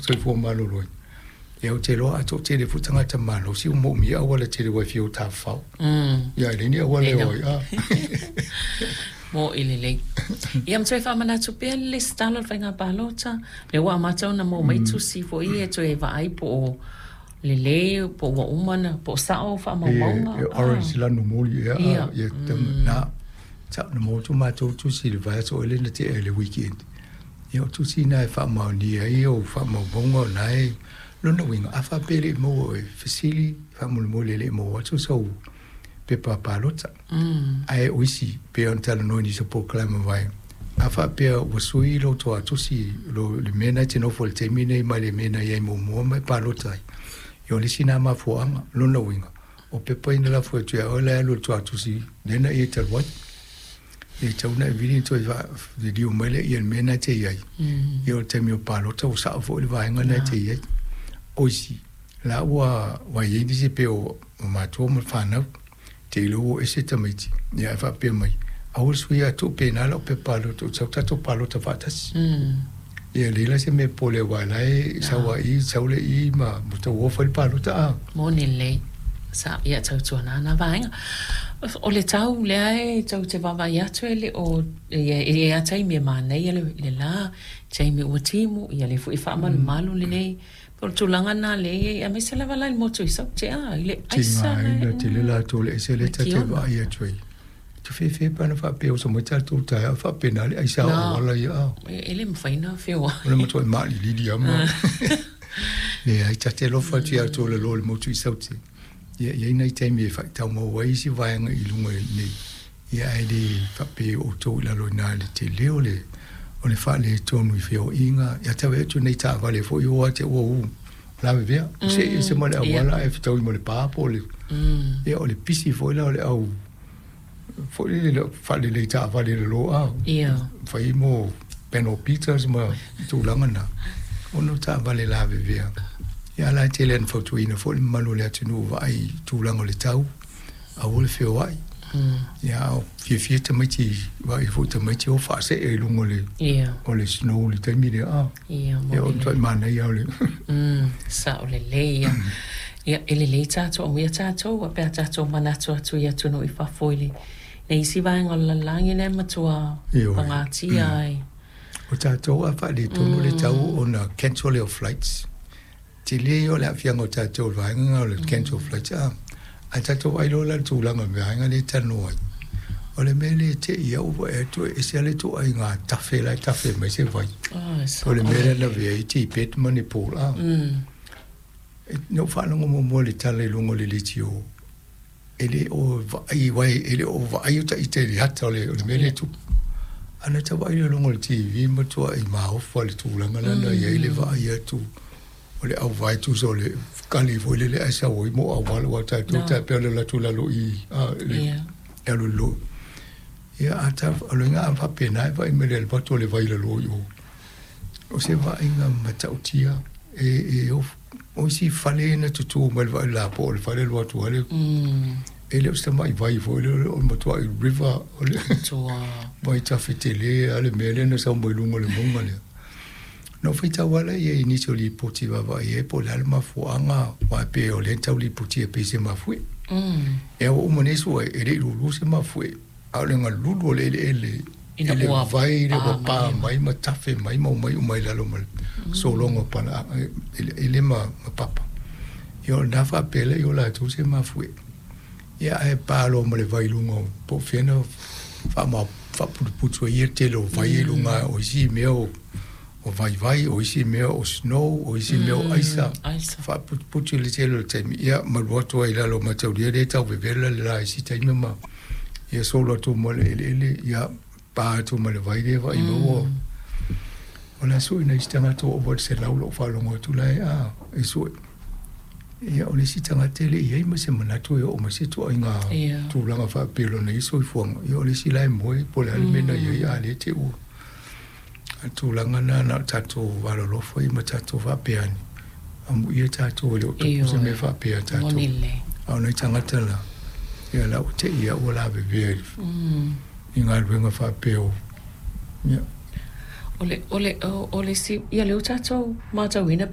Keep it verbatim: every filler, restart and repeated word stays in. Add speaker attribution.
Speaker 1: Soifua Maloloina. Ia ou te iloa a toatele foi tagata malosi ua moomia auala tele ua e fia o tafafao. Ia e leai ni auala e o ai a.
Speaker 2: Mo'i lelei. Ia ma toe faamanatu pea le lesitala o le faiga palota, lea ua amata ona maua mai tusi foi ia e toe vaai po o lelei, po ua uma ona, po o sao faamaumauga.
Speaker 1: E orange lanu moli ea a, ia na tau na maua atu matou tusi i le vaiaso ea lea na tea i le weekend. Ia o tusi na e faamaonia ai ou faamaumauga o na e lona uiga a faapea e le i maua e fesili faamolemole e le i maua atu sau pepa palota. Ae o isi pei ona talanoa i nisi o polokalame mavae, a faapea ua sui lou toatusi lo le mea na e te nofo i le taimi nei mai le mea na i ai muamua ma e palota ai, ia o le isi na mafuaaga. Lona uiga, o pepa ia na lafo atu ia oe la e alu i le toatusi lea na ia talu ai. E tatau ona e vili ona toe liliu mai lea i le mea na e te i ai. Ia o le taimi o palota ua sao foi le vaega na e te i ai. O isi, la ua ua i ai nisi pei o matua ma le fanau, te iloa ua ese tamaiti, ia ae faapea mai, aua le sui atu pena lau pepa palota, ou te sau tatou palota faatasi. Ia leai la se mea pole aua o la e sau lava i i, sau le i ma tau o fai le palota a.
Speaker 2: Moni lelei. Sa, ia tautuana na vaega. O le tau lea e tou te vaavaai atu e le o, ia e i ai lava taimi e manaia le, le la, taimi ua timu, ia lea foi e faamalumalu lenei. O le tulaga lena lea e i ai, aemaise lava la i le motu i Saute, a, i le aisa la e,
Speaker 1: Tigaina tele latou le aisa lea
Speaker 2: le
Speaker 1: ta te
Speaker 2: kiona.
Speaker 1: vaai atu ai. Te fefe pe ana faapea oso mai tatou taeao faapena le aisa o
Speaker 2: Na,
Speaker 1: auala ia a.
Speaker 2: e, e le mafai ona
Speaker 1: O le
Speaker 2: feoai.
Speaker 1: matuai maalilili lava ma leai ta te alofa atu ia outou lalo i le motu i Saute. Ia e i ai nai taimi e faataumau ai isi vaega i luga nei, ia ae le faapea o outou i lalo i ina i le tele o le o le faaletonu i feoaiga. Ia tau atu nei taavale foi o ate ua u lavevea, ua see ese ma le
Speaker 2: Ia.
Speaker 1: auala ae fetaui ma le pa po o le ia o le pisi foi la o le au foi lele le faalelei taavale i lalo a
Speaker 2: Ia.
Speaker 1: fai mo panel beaters ma tulaga na ona o taavale lavevea. Ia a la e tele ina fautuaina foi le mamalu o le atunuu vaai i tulaga o le tau, aua le feoai. Ia a o fiafia tamaiti vaai foi tamaiti o faasee i luga o le
Speaker 2: Ia.
Speaker 1: o le snow i le taimi lea a.
Speaker 2: Ia,
Speaker 1: Ia o
Speaker 2: moni
Speaker 1: le matuai
Speaker 2: lelei.
Speaker 1: manaia o le
Speaker 2: Mm, sao lelei ia. Ia, e lelei tatou, amuia tatou, pe a tatou manatu atu i atunuu i fafo i le, le isi vaega o le lalolagi lea e matua
Speaker 1: Ioe.
Speaker 2: pagatia ai.
Speaker 1: O tatou a faaletonu le tau ona cancel lea o flights. Tele ia o le aafiaga o tatou i le vaega lena o le cancel flights a. Ae tatou vaai loa la i le tulaga o le vaega lea e talanoa ai. O le mea lea e te i au ua vaai atu e ese lava le ituaiga tafe la e tafe mai se vai.
Speaker 2: Ah, e
Speaker 1: O le
Speaker 2: sao
Speaker 1: mea lea na
Speaker 2: lelei.
Speaker 1: avea ai Tibet ma Nepal a.
Speaker 2: Mm.
Speaker 1: Na ou faalogo muamua i le tala i luga o le leitio, e le o vaai aua e le o vaai o ita i le ata o le, o le mea lea e
Speaker 2: Ia.
Speaker 1: tupu. Ae na tau vaai lea i luga o le T V matuai maofa le tulaga lea na i ai le vaai atu o le auvae tusa o le kali foi lele ae sau ai mo auala aua tatou
Speaker 2: Na.
Speaker 1: tai pei o le alu atu i lalo i a le
Speaker 2: Ia.
Speaker 1: le alu i lalo. Ia a ta o le uiga a faapena e vaai mai le alu atu o le vai i lalo i o. O se vaaiga matautia e e of o isi fale na tutū mai le vaai lapoa o le fale alu atu lava le
Speaker 2: Mm.
Speaker 1: e le o se tamai vai foi lea o le matuai river o le
Speaker 2: Matua.
Speaker 1: vai tafe tele lava le mea lea na sau mai luga o le mauga lea. Na ou faitau lava lea i ai i nisi o lipoti vaavaai i ai po o le a le mafuaaga aua e pei o lea na tau lipotia pei se mafuie.
Speaker 2: Mm.
Speaker 1: Ia ua uma nei sua e le i lulu se mafuie, a o le galulu o le eleele
Speaker 2: Ina
Speaker 1: i le
Speaker 2: ua
Speaker 1: vai lea
Speaker 2: pa
Speaker 1: ua pa
Speaker 2: mai ma.
Speaker 1: mai ma tafe mai ma omai uma i lalo ma le sologa o palaaga eleele ma ma papa. Ia o lena faapea lea i o latou se mafuie. Ia ae pa loa ma le vai i luga o po o fea na faama faaputuputu ai ia le tele o vai i luga o isi mea o o vaivai, o isi mea o snow, o isi mea o aisa.
Speaker 2: Mm, aisa.
Speaker 1: Faaputuputu i le tele o le taimi. Ia malu atu ai i lalo o mataulia lea e tau vevela le la i isi taimi ma ia solo atu ma le eleele, ia pa atu ma le vai lea vaai mai ua o le a sue nai isi tagata ua ova i le selau lou faalogo atu la e a e sue. Ia o le isi tagata e le i ai ma se manatu e oo mai se ituaiga
Speaker 2: Ia.
Speaker 1: tulaga faapea i lona ia soifuaga. Ia o le isi la e moe po o le a le mea na i ai a o lea e te ua. A o le tulaga lena na o tatou alolofa ia ma tatou faapea ane, amuia tatou e le o tupu se mea
Speaker 2: Ioe.
Speaker 1: faapea ia tatou.
Speaker 2: Moni lelei.
Speaker 1: A o nai tagata la, ia la ua te i au ua lavevea i
Speaker 2: Mm.
Speaker 1: i galuega faapea o ia.
Speaker 2: O le, o le, o, o le isi, ia lea ua tatou matauina